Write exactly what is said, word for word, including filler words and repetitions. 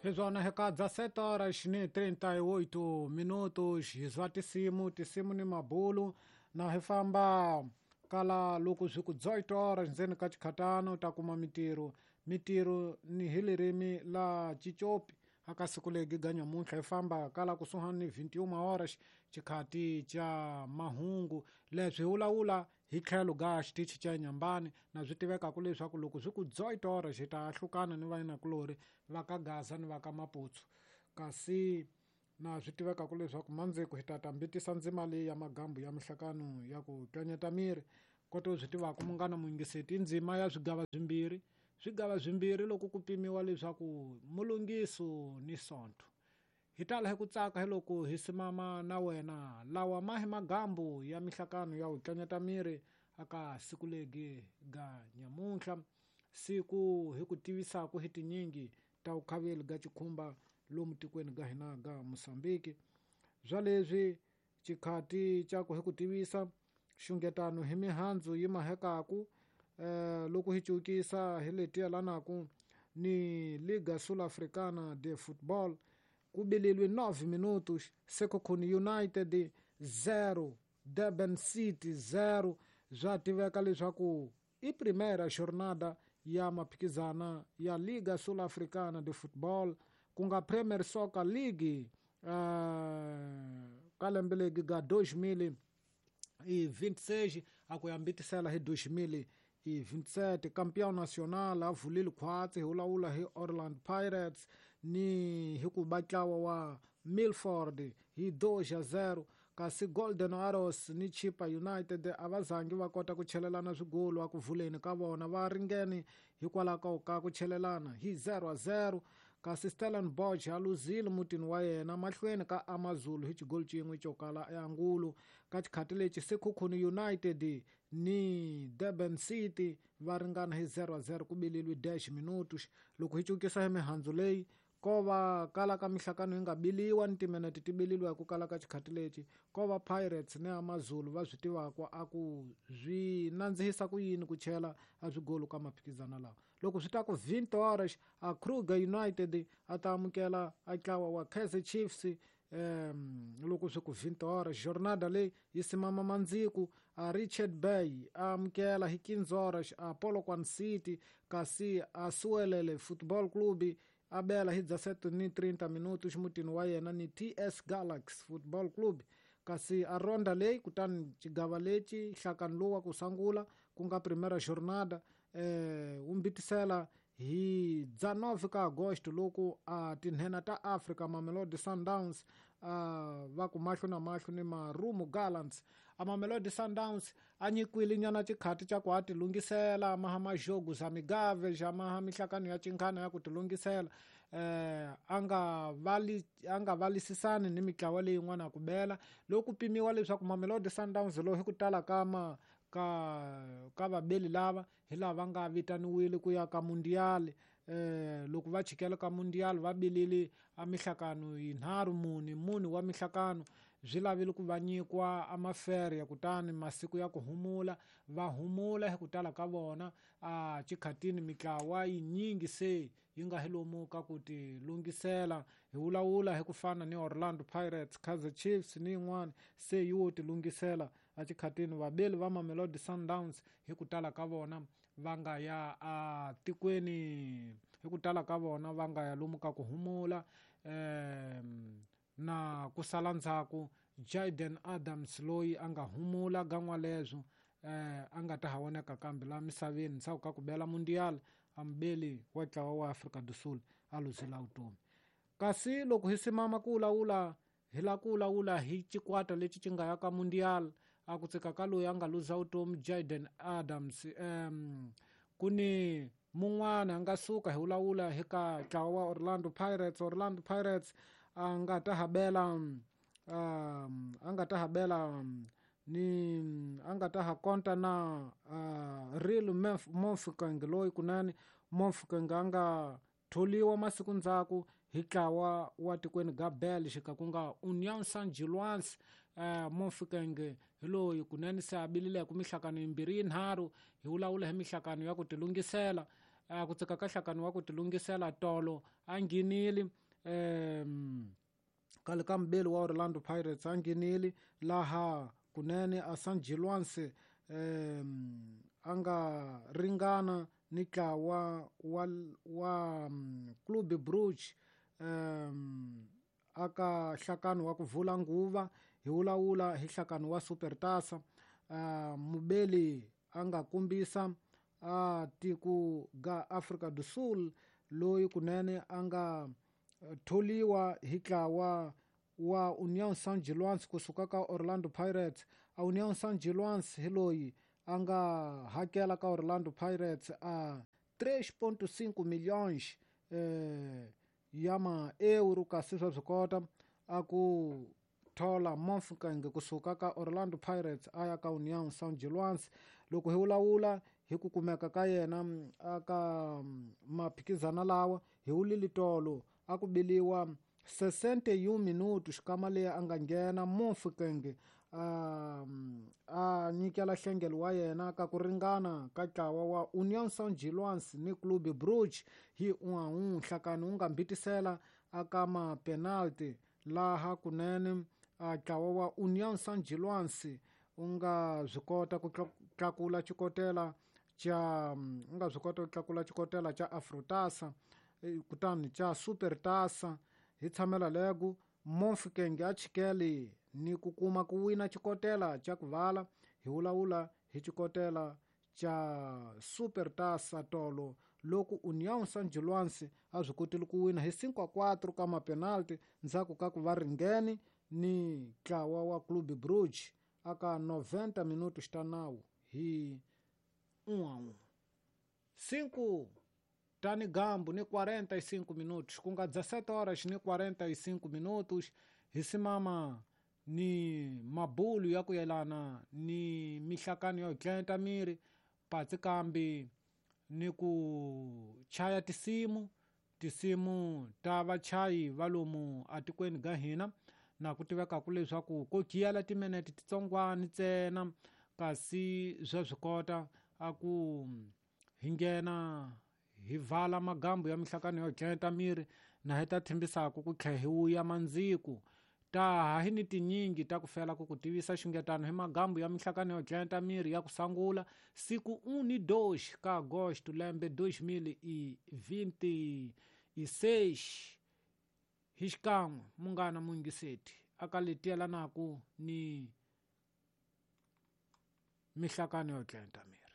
Hizona hekadza sete horas ni trinta e oito minutos hizwa tisimu tisimu ni mabulu na hifamba kala loko swi ku dezoito horas ndzeni ka chikhatano u ta kuma mitiro mitiro ni hi ririmi la Chichopi aka siku legi ga nyamuntlha hi famba kala kusuhani ni vinte e uma horas chikhati cha mahungu leswi hi vulavula hi tlhelo ga xitichi cha Nyambani na swi tivekaka leswaku loko swi ku dezoito horas hi ta hlukana ni vayinakulori va ka Gaza ni va ka Maputsu kasi na swi tivekaka leswaku mandziko hi ta ta mbitisa ndzima leyi ya magambu ya mihlakano ya ku tlanyeta miri koto swi tivaka munghana muyingiseti i ndzima ya swigava swimbirhi swigava swimbirhi loko ku pimiwa leswaku mulungiso ni sonto hi tala hi ku tsaka hi loko hi simama na wena lawa ma hi magambu ya mihlakano ya ku tlanyeta miri aka siku legi ga nyamuntlha siku hi ku tivisaka hi tinyingi ta vukhaveli ga chikhumba lomu tikweni ga hina ga Mosambiki bya leswi chikhati cha ku hi ku tivisa xungetano hi mihandzu yi mahekaku eh, loko hi cukisa hi leti yelanaku ni Liga Sul-Africana de Football ku bililwe nove minutos Sekhukhune United zero Durban City zero bya tiveka leswaku i primeira jornada ya maphikizana ya Liga Sul-Africana de Football ku nga Premier Soccer League uh, ka lembe legi ga dois mil e vinte e seis a ku ya mbitisela hi dois mil e vinte e sete campeão nacional a vulile khwatsi hi vulavula hi Orlando Pirates ni hi ku ba ntlawa wa Milford hi dois a zero kasi Golden Arrows ni Chippa United a va zangi va kota ku chelelana swigolo a ku vuleni ka vona va ringene hikwalaho ka ku chelelana hi zero a zero kasi Stellenbosch a luzile mutini wa yena mahlweni ka AmaZulu hi xigolo xin'we xo kala eAngulu ka xikhati lexi Sekhukhune United ni Durban City va ringana hi zero a zero ku bililwe dez minutos loko hi cukisa hi mihandzu leyi ko va kala ka mihlakano yi nga biliwa ni timinete ti bililiwa hi ku kala ka xikhati lexi ko va Pirates ni AmaZulu va swi tivaka a ku swi nandzihisa ku yini ku chela a swigolo ka maphikizana lawa loko swi ta ku vinte horas a Kruger United a ta amukela a ntlawa wa Kaizer Chiefs um loko swi ku vinte horas jornada leyi yi simama mandziku a Richard Bay a amukela hi quinze horas a Polokwane City kasi a Suelele Football Club a bela hi dezessete ni trinta minutos mutini wa yena ni T S Galaxy Football Club kasi a ronda leyi kutani xigava lexi nhlakano lowu wa ku sungula ku nga primeira jornada eh wu mbitisela hi dezenove ka agosto loko a tinhena ta Africa Mamelodi Sundowns uh, va ku mahlo na mahlo ni Marumo Gallants a Mamelodi Sundowns a nyikwile nyana xikhati xa ku a tilungisela maha majogo za migave xa maha mihlakano ya chinkhana ya ku tilungisela eh a nga vali a nga valisisani ni mitlawa leyin'wana ku bela loko pimiwa leswaku Mamelodi Sundowns lowu hi ku tala ka ma ka ka vabeli lava hi lava nga vitaniwile ku ya ka mundial eh loko va chikela ka mundial va bilile a mihlakano yinharhu muni muni wa mihlakano swi lavile ku va nyikwa a mafere ya kutani masiku ya ku humula va humula hi ku tala ka vona a chikhatini mitlawa yinyingi se yi nga hi lomu ka ku ti lunghisela hi vulavula hi ku fana ni Orlando Pirates Kaizer Chiefs ni yin'wana se yi wo ti lunghisela a chikhatini vabeli va Mamelodi Sundowns hi ku tala ka vona va nga ya a tikweni hi ku tala ka vona va nga ya lomu ka ku humula um na ku sala ndzhaku Jayden Adams loyi a nga humula gan'wa leswo eh a nga ta ha voneka kambe la misaveni ndzhaku ka ku bela mundial a mubeli wa ntlawa wa Afrika do Sul a luzela vutomi kasi loko hi simama ku vulavula hi la ku vulavula hi xikwata lexi xi nga ya ka mundial a ku tsika ka loyi a nga luza vutomi Jayden Adams um ku ni mun'wana a nga suka hi vulavula hi ka ntlawa wa Orlando Pirates Orlando Pirates a nga ta ha bela um a nga ta ha bela ni a nga ta ha konta na uh, Real Mofokeng loyi kunene Mofokeng a nga tholiwa masiku ndzhaku hi ntlawa wa tikweni ga Belgica ku nga Union Saint-Gilloise uh, Mofokeng hi loyi kunene se a bilile ku mihlakano yimbirhi yinharhu hi vulavula hi mihlakano ya ku tilunghisela a ku tsika ka hlakani wa ku tilungisela tolo a nghenile um kale ka mubeli wa Orlando Pirates a nghenile laha kunene a San Giluanse um a nga ringana ni ntlawa wa wa Club Brugge um aka hlakano wa ku vula nguva hi wulawula hi hlakano wa Supertaça. Uh, mubeli a nga kombisa a tiko ga Afrika do Sul loyi kunene a nga tholiwa hi ntlawa wa União São Giluanse kusuka ka Orlando Pirates. A União São Giluanse hi loyi a nga hakela ka Orlando Pirates a três ponto cinco milhões eh, ya ma-euro, kasi swa swi kota a ku thola Mofokeng kusuka ka Orlando Pirates a ya ka União São Giluanse. Loko hi wulawula hi ku kumeka ka yena aka maphikizana lawa hi wulile tolo a ku biliwa sessenta e um minutos xikama leyi a nga nghena Mofokeng a a nyikela nhlengelo wa yena ka ku ringana ka ntlawa wa União São Giluanse ni Clube Brugge hi un a un. Nhlakani wu nga mbitisela aka ma-penalty laha kunene a ntlawa wa União São Giluanse u nga swi kota ku tlakula xikotela xa u nga swi kota ku tlakula xikotela xa Afrotaça kutani xa Supertaça. Hi tshamela lego Mofokeng a chikele ni ku kuma ku wina xikotela xa ku vala hi wulawula hi xikotela xa Supertaça tolo loko União São Giluanse a swi kotile ku wina hi cinco a quatro ka ma-penalty ndzhaku ka ku va ringene ni ntlawa wa Clube Brugge aka noventa minutos ta nawu hi um a um. Cinco tani gambu ni quarenta e cinco minutos, ku nga dezessete horas ni quarenta e cinco minutos, hi simama ni mabulu ya ku yelana ni mihlakano yo tlenta miri patsi kambi ni ku chaya tisimu tisimu ta vachayi va lomu atikweni ga hina na ku tivekaku leswaku ko giyela timinete titsongwana ntsena, kasi swa swi kota a ku hi nghena hi vala magambu ya mihlakano yo tlenta miri na hi ta thembisaka ku tlhela hi wuya mandziku. Ta ha hi ni tinyingi ta ku fela ku ku tivisa xungetano hi magambu ya mihlakano yo tlenta miri ya ku sangula siku um ni dois ka agosto lembe dois mil e vinte e seis. Hi xikan'we munghana muyingiseti aka leti yelanaku ni mihlakano yo tlenta miri.